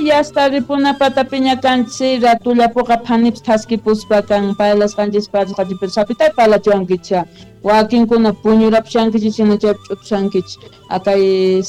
Yasta ripuna patapiña kanchis ratullapuqa phanipas thaskipuspa kan parlasqanchis parlasqanchis sapitay parlachiwankichis wakinkuna puñurapushankichis hina chaypi ch'utushankichis akay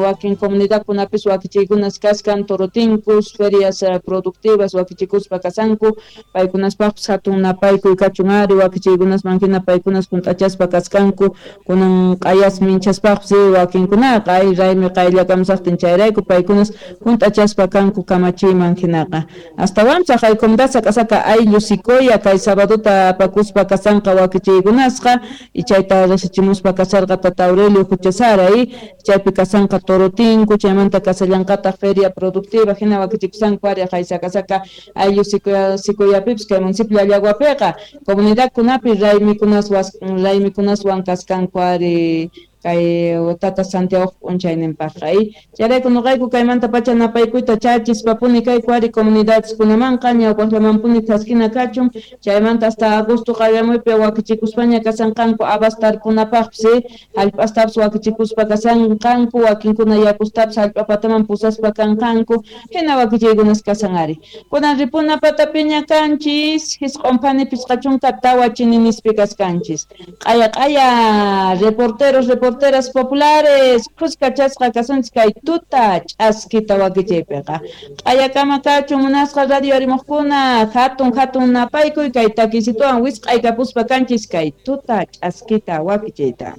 wakin comunidadkunapis wakichiykunas kaskan torotinkus ferias productivas wakichikuspa kasanku paykunaspaqpis hatun napaykuy kachun ari wakichiykunasman hina paykunas hunt'achaspa kaskanku kunan q'ayas minchaspaqpis wakinkunaqa ay raymi qayllakamusaqtin chayrayku paykunas hunt'achaspa kanku kamachiyman hinaqa astawanpas haqay comunidad sak'asaka ayllu Sicoya kay sabadota apakuspa kasanqa wakichiykunasqa y chayta riqsichimuspa kasarqa tata Aurelio Huchasara chaypi kasanqa torotinku chaymanta kasallanqataq feria productiva hina wakichikusanku ari haqay sak'asaka ayllu Sicoyapipis kay municipio Llallaguapiqa comunidadkunapi raymikunaswan kaskanku ari kay tata Santiago p'unchayninpaqqa chayrayku nuqayku kaymanta pacha napaykuyta chachispapuni kayku ari comunidadeskunamanqa ñawpaqllamanpuni thaskina kachun chaymanta hasta agosto qallamuypi wakichikuspaña kasanqanku habas tarpunapaqpis hallp'astapis wakichikuspa kasanqanku wakinkuna yakustapis hallp'a pataman pusaspa kanqanku hina wakichiykunas kasan ari kunan ripuna patapiña kanchis 9 phani 54 chininispi kaskanchis q'aya q'aya reporteros reporteras populares khuskachasqa kasunchis kay tuta ch'askita wakichiypiqa q'ayakama kachun munasqa radio arimuqkuna hatun hatun napaykuy kay takisituwan wisq'aykapuspa kanchis kay tuta ch'askita wakichiyta.